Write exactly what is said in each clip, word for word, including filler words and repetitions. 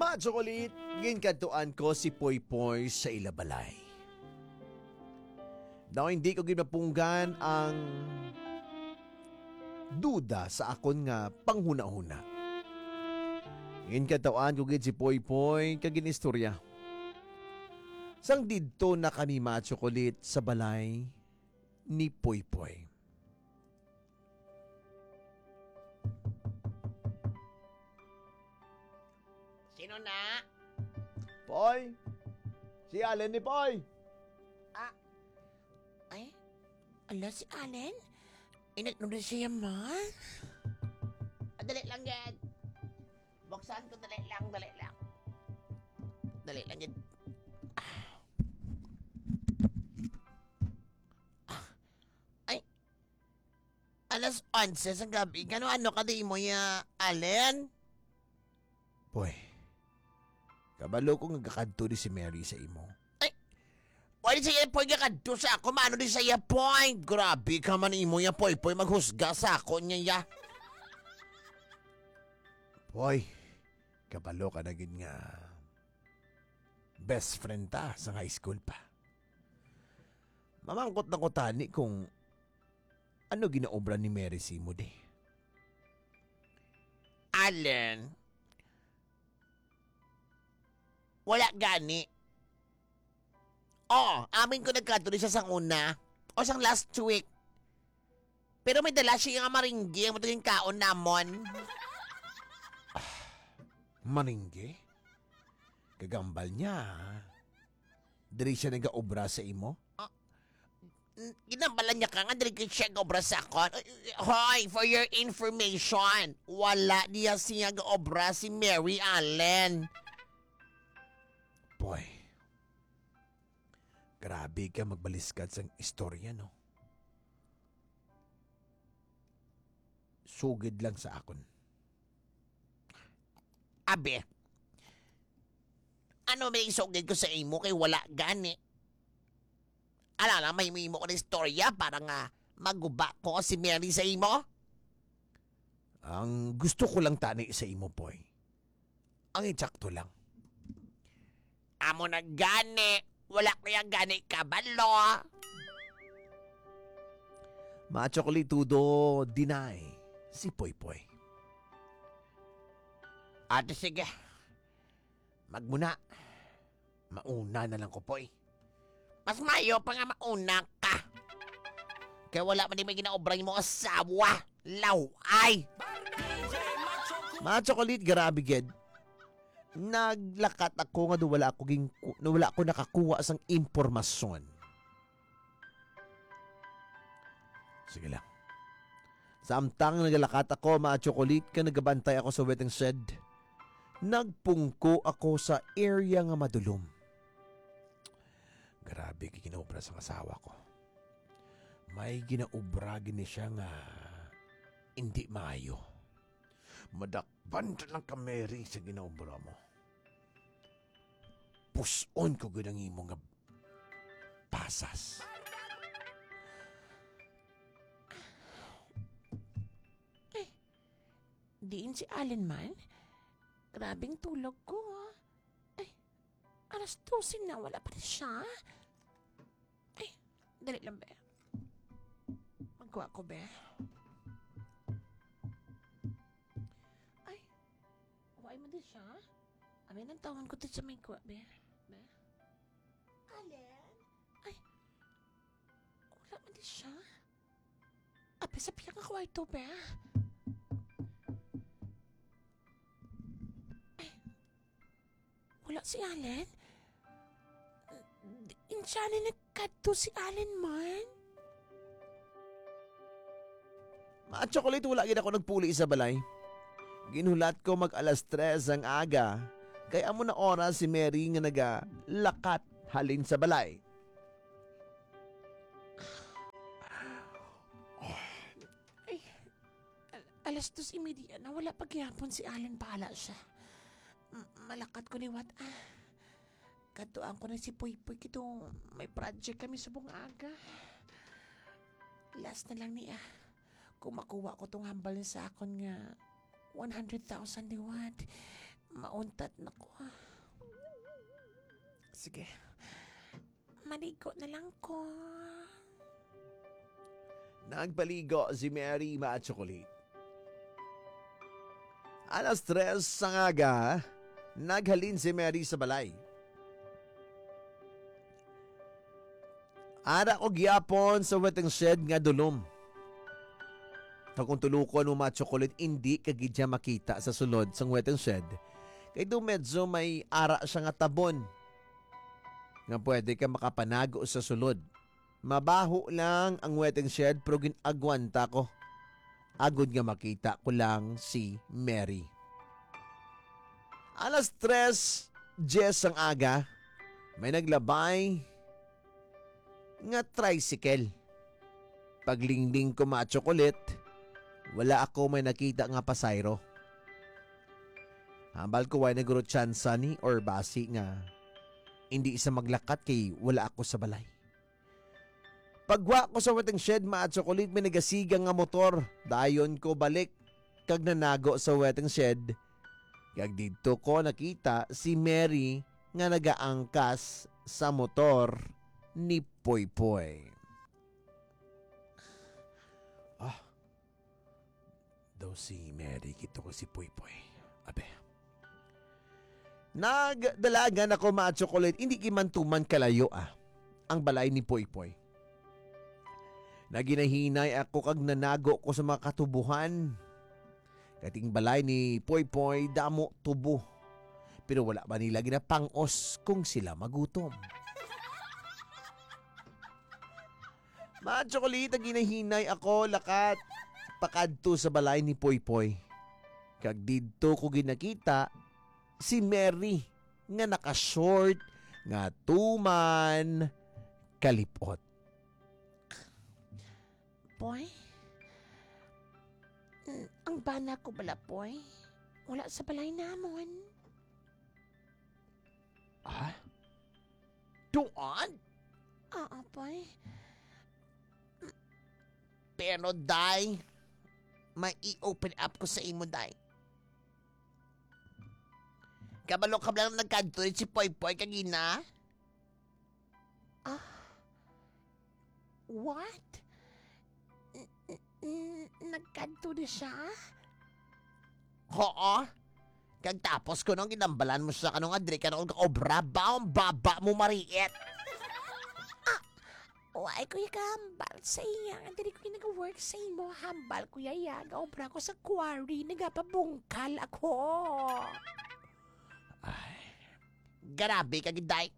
Pa chocolate, ginkadtuan ko si Poypoy sa ila balay. Daw hindi ko gid mapunggan ang duda sa akon nga panghunahuna. Ginkadtuan ko gid si Poypoy kag ginistorya. Sang didto na kami, Ma Chocolate, sa balay ni Poypoy. Sino na? Poy! Si Allen ni Poy! Ah, ay, ala si Allen? Inat mo na siya, ma? Ah, dali lang, gid. Buksan ko, dali lang, dali lang. Dali lang, gid. Ah. Ah. Ay, alas onse sa gabi. Kano ano ka di mo ya, Allen? Boy, kabalo ko nga gakadto di si Mary sa imo. Ay, pwede siya, Poy, gakadto sa ako. Maano di siya, Poy? Grabe ka man imo ya, Poy, Poy. Maghusga sa ako niya, ya. Boy, kabalo ka na gid nga best friend ta sa high school pa. Mamangkot na ko tani kung ano ginaobra ni Mary sa imo di. Allen, wala gani. Oh, amin ko nagkadto di siya sang una o sang last week. Pero may dala siya nga maringgi ang matuging kaon namon. Maringgi? Kagambal niya. Diri siya nagaobra sa imo? Ah, n-, ginambalan niya ka nga diri gid siya gaobra sa akon. Ay, hoy, for your information, wala niya siya gaobra si Mary Allen. Boy, grabe ka magbaliskad sang istorya, no? Sugid lang sa akon. Abi, ano may isugid ko sa imo kay wala gani? Ala lang, may imo ko na istorya para nga maguba ko si Mary sa imo? Ang gusto ko lang tani sa imo, Poy, ang insakto lang. Amo na gani, wala ko yang gani kabalo. Macho ko litudo, deny si Poy Poy. Ate, sige. Magmuna. Mauna na lang ko, Poy. Mas mayo pa nga mauna ka. Kay wala man di may ginaobra mo asawa. Laway! Mga chocolate, grabe gid. Naglakat ako nga daw wala ako ging-, daw wala ako nakakuha sang impormasyon. Sige lang. Samtang nagalakat ako, mga chocolate, ka nagabantay ako sa waiting shed, nagpungko ako sa area nga madulom. Grabe kay ginaobra sang asawa ko. May ginaobra gini siya nga indi maayo. Madakpan ta lang ka, Mary, sa ginaobra mo. Puson ko gid ang imo nga pasas. Ay, diin si Allen man? Grabing tulog ko, ah. Ay, alas dose na, wala pa rin siya. Ay, dali lang, be. Magkuha ko, be. Ay, why mo din siya? Amin ang tawon ko din sa may kuha, be. Be? Allen? Ay, wala man din siya. Ape, sa pila nga kwarto, be? Ay, wala si Allen? Di, insya ni nagkadto si Allen man? Mga chocolate, wala gid ako nagpuli sa balay. Ginhulat ko mag alas tres ang aga, kay amo na oras si Mary nga nagalakat halin sa balay. Ay, al-, alas dos y media na, wala pa gihapon si Allen, bahala siya. M-, malakat ko liwat, ah. Kadtuan ko na si Puy Puy, kito may project kami subong aga. Last na lang ni, ah. Kung makuha ko tong hambal niya sa akon nga one hundred thousand liwat, Mauntat na ko. Sige. Maligo na lang ko. Nagpaligo si Mary, mga tsokolate. Alas tres sang aga, naghalin si Mary sa balay. Ara ko gyapon sa waiting shed nga dulom. Kag kung tulukon mo, mga tsokolate, indi ka gid siya makita sa sulod sang waiting shed. Kay do medyo may ara siya nga tabon nga pwede ka makapanago sa sulod. Mabaho lang ang waiting shed, pero gin-agwanta ko agod nga makita ko lang si Mary. Alas tres diyes ang aga, may naglabay nga tricycle. Paglingling ko, mga tsokolate, wala ako may nakita nga pasayro. Hambal ko, way naguro tsansa ni or basi nga hindi sa maglakat kay wala ako sa balay. Pagwa ko sa waiting shed, mga tsokolate, may nagasiga nga motor. Dayon ko balik kag nanago sa waiting shed. Kag didto ko nakita si Mary nga nagaangkas sa motor ni Poypoy. Ah, daw si Mary kito ko si Poypoy. Abe. Nagdalagan ako, mga tsokolate, hindi gimantuman kalayo, ah, ang balay ni Poypoy. Naginahinay ako kag nanago ko sa mga katubuhan. Kating balay ni Poypoy, damo tubo. Pero wala ba nila ginapangos kung sila magutom? Mga tsokolate, ginahinay ako lakat pakadto sa balay ni Poypoy. Kag didto ko ginakita si Mary nga naka-short nga tuman kalipot. Poy? N-, ang bana ko bala, Poy? Wala sa balay namon. Ah? Tuan? Oo, Poy. Pero, Day, may i-open up ko sa imo, Day. Kabalo ka ba lang nagkadto si Poypoy kagina? Ah? What? N-, n-, n-, nagkadto na siya? Oo. Kag tapos ko nung ginambalan mo siya kanong adri ka nung kaobra, baong baba mo mariit. Ah, why ko yung kahambal sa iya? Nga diri ko yung nag-work sa imo. Hambal ko yaya, gaobra ko sa quarry, nagapabungkal ako. Ay, grabe ka, Giday.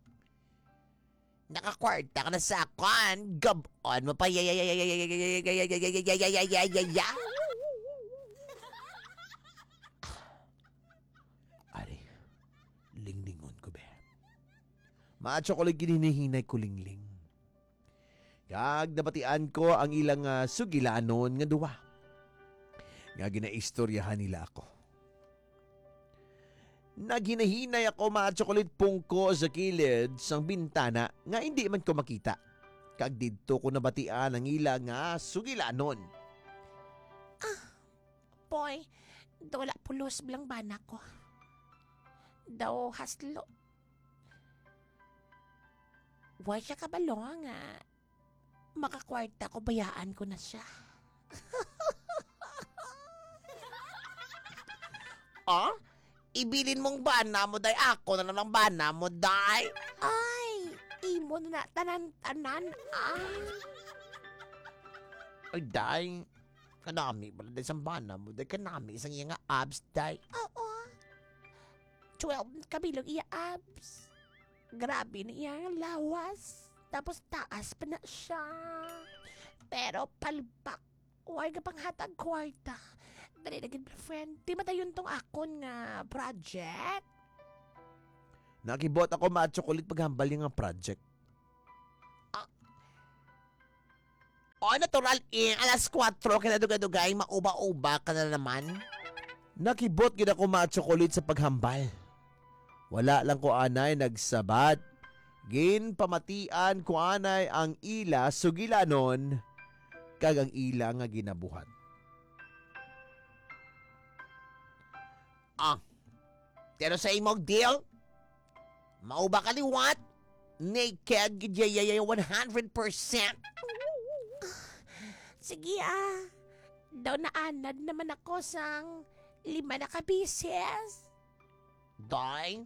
Nakakwarta ka na sa akon. Gabon mo pa. Ari, linglingon ko, be. Maatsyo ko lang ginhinahinay ko, Lingling. Kag nabatian ko ang ilang, ah, sugilanon nga duha nga ginaistoryahan nila ako. Naghinahinay ako, mga tsokolit, pungko sa kilid sang bintana nga indi man ko makita. Kag didto ko nabatian ang ila nga sugilanon. Ah, boy, daw wala pulos bala ang bana ko. Daw haslo. Wa siya kabalo nga makakwarta ko, bayaan ko na siya. Ah? Ibilin mong bana mo, day. Ako na lang ang bana mo, day. Ay, imo na tanan-tanan, ah. Ay, day. Kanami bala, day, sang bana mo, day. Kanami sang iya nga abs, day. Oo. Twelve kabilog iya abs. Grabe na iya nga lawas. Tapos taas pa na siya. Pero palpak. Way ka panghatag kwarta. Dali na gid, friend. Di madayon tong akon nga project. Nakibot ako, mga tsokolit, paghambal niya nga project. Ah. Oh, natural, eh. Alas kuwatro, kaya dugay-dugay, mauba-uba ka na naman. Nakibot gid ako, mga tsokolit, sa paghambal. Wala lang ko anay nagsabat. Ginpamatian ko anay ang ila sugilanon kag ang ila nga ginabuhat. Ah, Pero sa imong deal, mao ba ka liwat? Naked gid, yayayay, one hundred percent. Sige, ah. Daw naanad naman ako sang lima na ka beses. Day,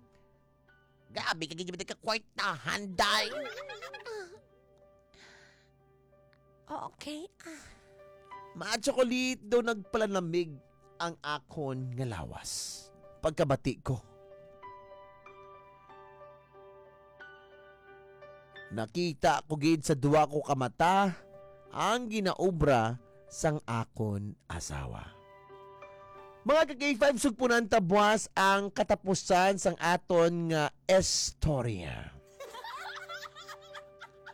grabe ka gid ka kwartahan, day. Okay, ah. Ma-chocolate daw nagpalanamig ang akon nga lawas pagkabati ko. Nakita ko gid sa duha ko ka mata ang ginaobra sang akon asawa. Mga ka-K five, sugpunan ta buas ang katapusan sang aton nga istorya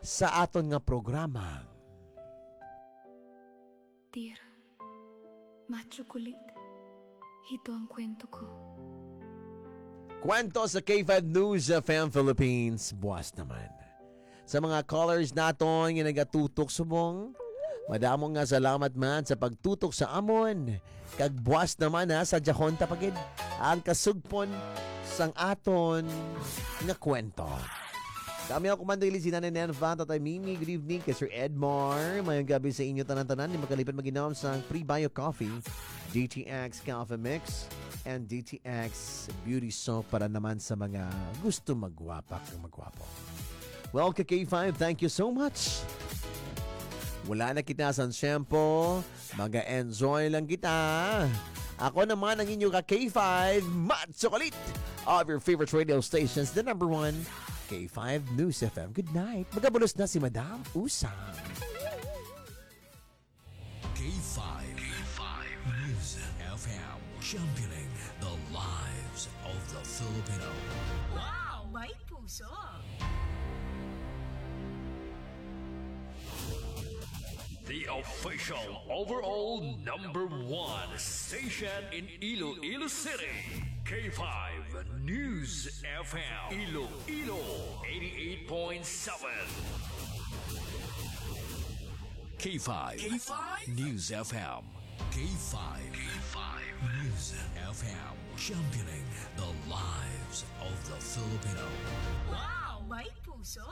sa aton nga programa. Dear, ma-chocolate, ito ang kwento ko. Kwento sa K five News F M Philippines, buas naman. Sa mga callers naton nga nagatutok subong, madamo nga salamat man sa pagtutok sa amon. Kag buas naman, ha, sa Jahonta pa gid ang kasugpon sang aton nga kwento. Kami ang Commander Lizzie, Nanay Nenfa, Tatay Mimi, good evening kay Sir Edmar. Mayong gabi sa inyo tanan-tanan. Di makalipad mag-inom sang Pre-Bio Coffee, D T X Coffee Mix, and D T X Beauty Soap para naman sa mga gusto magwapa kag magwapo. Well, ka K five, thank you so much. Wala na kita sa shampoo. Mag-enjoy lang kita. Ako naman ang inyo ka K five, Mad Chocolate of your favorite radio stations, the number one, K five News F M. Good night. Magabulos na si Madam Usang. K five. K five News F M. Championing the lives of the Filipino. Wow! May puso! The official overall number one station in Iloilo City. K five News F M. Iloilo, eighty-eight point seven. K five. K five News F M. K five. K five News F M. Championing the lives of the Filipino. Wow! May puso!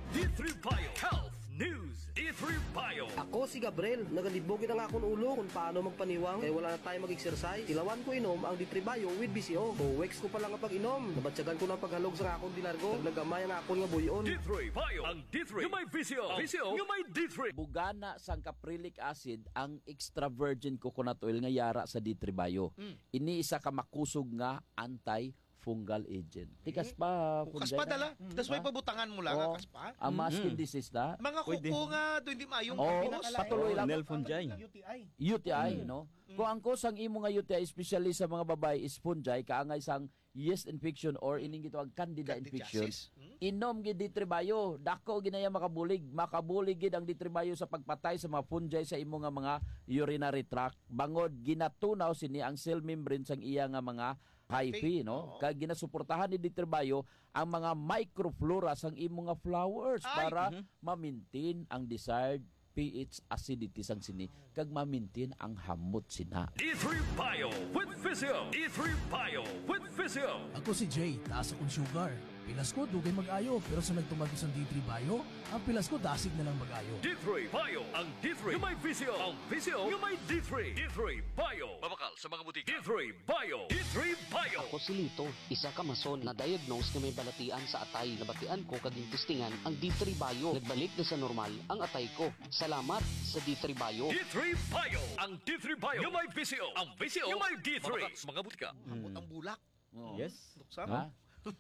D three Bio Health News. D three Bio. Ako si Gabriel. Nagalibog gid ang akon ulo kung paano magpaniwang kay wala na tayo mag-exercise. Tilawan ko inom ang D three Bio with V C O. Two weeks ko pa lang ang pag-inom. Nabatyagan ko na ang paghalog sa akon dilargo. Naggamay ang akon nga buy-on. D three Bio. Ang D three nga may V C O. V C O nga may D three. Bugana sang caprylic acid ang extra virgin coconut oil nga yara sa D three Bio. Mm. Ini isa ka makusog nga antifungal agent. Tikas pa, Kukas pa, Fungi, dala. Mm. That's why Ah. pabutangan mo lang, Oo. Kukas pa. Ang mga Mm. skin disease na. Mga Pwede. kuko nga, doon di maayong Oo, patuloy lang. Nail fungi. U T I. U T I, Mm. no? Mm. Kung ang cause sang imo nga U T I, especially sa mga babae, is fungi, kaangay sang yeast infection or ining gitawag candida Candidiasis. infection, Mm. inom gid D three Bio. Dako ginaya makabulig. Makabulig gid ang D three Bio sa pagpatay sa mga fungi sa imo nga mga urinary tract. Bangod ginatunaw sini ang cell membrane sang iya nga mga hyphae, Hyphae, no? oo. Kag ginasuportahan ni D three Bio ang mga microflora sang imo nga flowers Ay! para Mhm. ma-maintain ang desired pH acidity sang sini kag ma-maintain ang hamot sina. D three Bio with Physio. D three Bio with Physio. Ako si Jay, taas akong sugar. Pilas ko, dugay mag-ayo, pero sa nagtumag ko sang D three Bio, ang pilas ko dasig na lang mag-ayo. D three Bio, ang D three nga may V C O. Ang V C O nga may D three. D three Bio. Mabakal sa mga butika. D three Bio. D three Bio. Ako si Lito, isa ka mason na diagnose nga may balatian sa atay. Nabatian ko kag gintistingan ang D three Bio. Nagbalik na sa normal ang atay ko. Salamat sa D three Bio. D three Bio. Ang D three Bio nga may V C O. Ang V C O nga may D three. Mabakal sa mga butika. Ambot ang bulak. Oo. Yes. Luksa, Ha? no?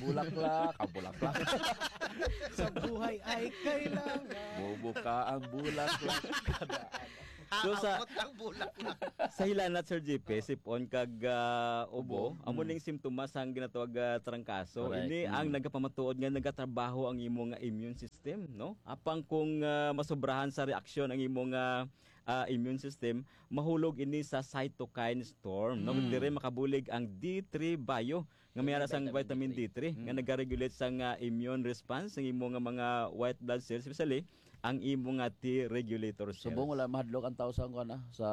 Bulaklak, ah, bulaklak. Sa buhay ay kailangan. Bubuka ang bulaklak. So, sa Haamot ang bulaklak. sa hilanat, Sir J P, sipon kag, ah, ubo, Ubo. amo Mm. ning simptomas sang ginatawag, ah, trangkaso. Correct. Ini ang Mm. nagapamatuod nga nagatrabaho ang imo nga immune system, no? Apang kung, ah, masobrahan sa reaksyon ang imo nga, ah, immune system, mahulog ini sa cytokine storm, no? Mm. Diri makabulig ang D three Bio nga may Ini ara sang vitamin vitamin D three D three. nga Mm. nagaregulate sang, ah, immune response sang imo nga mga white blood cells, especially ang imo nga T regulator cells. Subong wala mahadlok ang tao sa, kuwan, ah, sa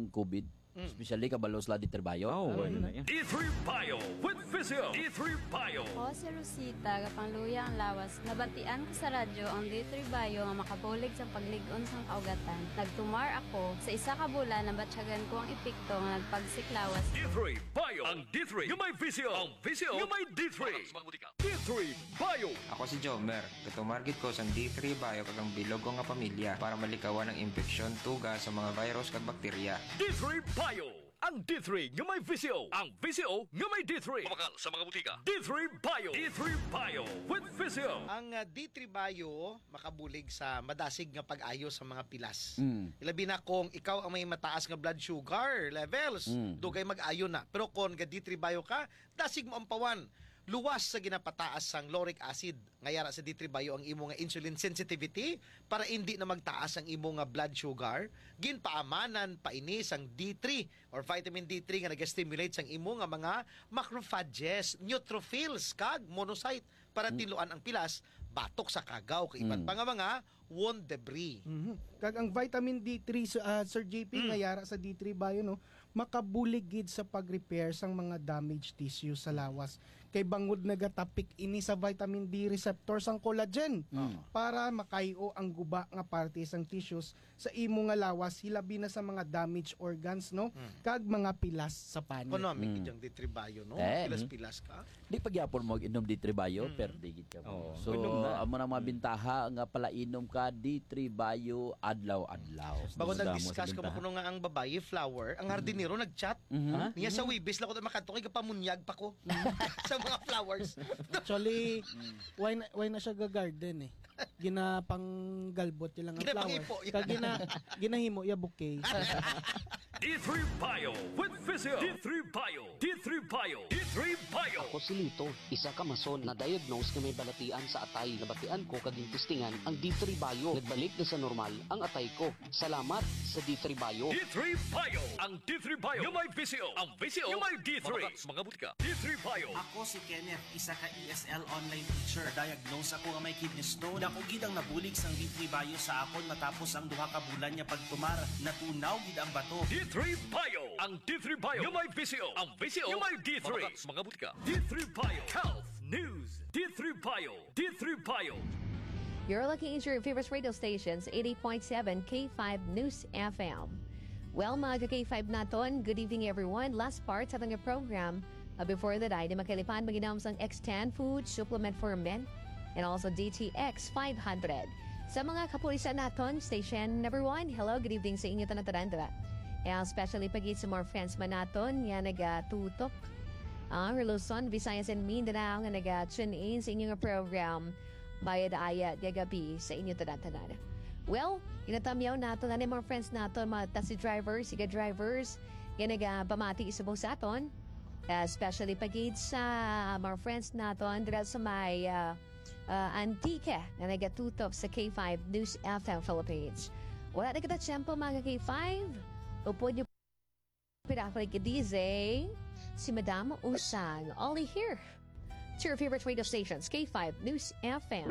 COVID. Mm. Especially kabalo sila D three Bio. Oh, ano na yan? D three Bio with Visio. D three Bio. Ako si Rosita, gapangluya ang lawas. Nabatian ko sa radyo ang D three Bio nga makabulig sa paglig-on sang kaugatan. Nagtumar ako. Sa isa ka bulan, nabatyagan ko ang epekto nga nagpagsik lawas. D three Bio. Ang D three nga may visyo. Ang visyo nga may D three. Sa mga butika. D three Bio. Ako si Jomer. Gatumar gid ko sang D three Bio kag ang bilog ko nga pamilya para malikawan ang impeksyon, tuga sa mga virus kag bakterya. D three Bio. Ang D three nga may visyo. Ang visyo nga may D three. Mabakal sa mga butika. D three Bio. D three Bio with Visio. Ang, ah, D three Bio makabulig sa madasig nga pag-ayo sa mga pilas. Mm. Ilabi na kung ikaw ang may mataas nga blood sugar levels, Mm. dugay mag-ayo na. Pero kung ga D three Bio ka, dasig mo ang pawan. Luwas sa ginapataas sang lauric acid nga yara sa D three Bio ang imo nga insulin sensitivity para indi na magtaas ang imo nga blood sugar. Ginpaamanan pa ini sang D three or vitamin D three nga naga-stimulate sang imo nga mga macrophages, neutrophils, kag monocyte para Mm. tinluan ang pilas batok sa kagaw kag iban Mm. pa nga mga wound debris. Mhm. Kag ang vitamin D three, sa, ah, Sir J P, Mm. nga yara sa D three Bio, no, makabulig gid sa pag-repair sang mga damaged tissue sa lawas. Kay bangod nagatapik ini sa vitamin D receptor sang collagen Mm. para makayo ang guba nga parte sang tissues sa imo nga lawas, hilabi na sa mga damaged organs, no? Mm. Kag mga pilas sa panit. Kuno, may Mm. gid ang D three Bio, no? Eh, Pilas-pilas ka. Di pa gyapon mo inom D three Bio, Mm. perde gid ka mo. Oo. So, Inom na. amo na mga Mm. bintaha nga palainom ka D three Bio adlaw-adlaw. Bako Damo-damo nag-discuss sa ko bintaha. Kuno nga ang babayi flower, ang hardinero nag-chat. Mhm. Ha? Niya sa Mm. Webes lang ko makadto kay gapamunyag pa ko sa mga flowers. Actually, Mm. why na, why na siya ga-garden eh? Ginapanggalbot niya lang ang flower. Ginapangipo, yeah. Kag gina-, ginahimo iya bouquet. D three Bio with Visio. D three Bio. D three Bio. D three Bio. Ako si Lito, isa ka mason na diagnose nga may balatian sa atay. Nabatian ko kag gintistingan ang D three Bio. Nagbalik na sa normal ang atay ko. Salamat sa D three Bio. D three Bio. Ang D three Bio nga may visyo. Ang visyo nga may D three. Mabakal sa mga butika. D three Bio. Ako si Kenneth, isa ka E S L online teacher. Na-diagnose ako nga may kidney stone. Dako gid ang nabulig sang D three Bio sa akon matapos ang duha ka bulan nga pagtumar. Natunaw gid ang bato. D three Bio. Ang D three Bio nga may visyo. Ang visyo nga may D three. Mabakal sa mga butika. D three Bio. Health News. D three Bio. D three Bio. You're looking into your favorite radio stations, eighty point seven K five News F M. Well, mga ka-K five naton, good evening, everyone. Last part sa ating program, uh, before the day, di makalipan, mag-inom sang X ten food supplement for men and also D T X five hundred. Sa mga kapulisan naton, station number one, hello, good evening sa inyo tanan-tanan, diba? And especially pagid sa mga friends man naton nga nagatutok, ah, Luzon, Visayas, and Mindanao nga naga-tune in sa inyo nga program. Bayad Aya, gagabi sa inyo tanan-tanan. Well, ginatamyaw nato na ni mga friends nato, mga taxi drivers, siga drivers, nga nagapamati subong sa aton. Especially pagid sa mga friends naton dira sa may, ah, ah, Antique nga nagatutok sa K five News F M Philippines. Wala na kita tiyempo, mga K five. Upod niyo Pinakulit ka D J, si Madam Usang. Only here to your favorite radio stations, K five News F M.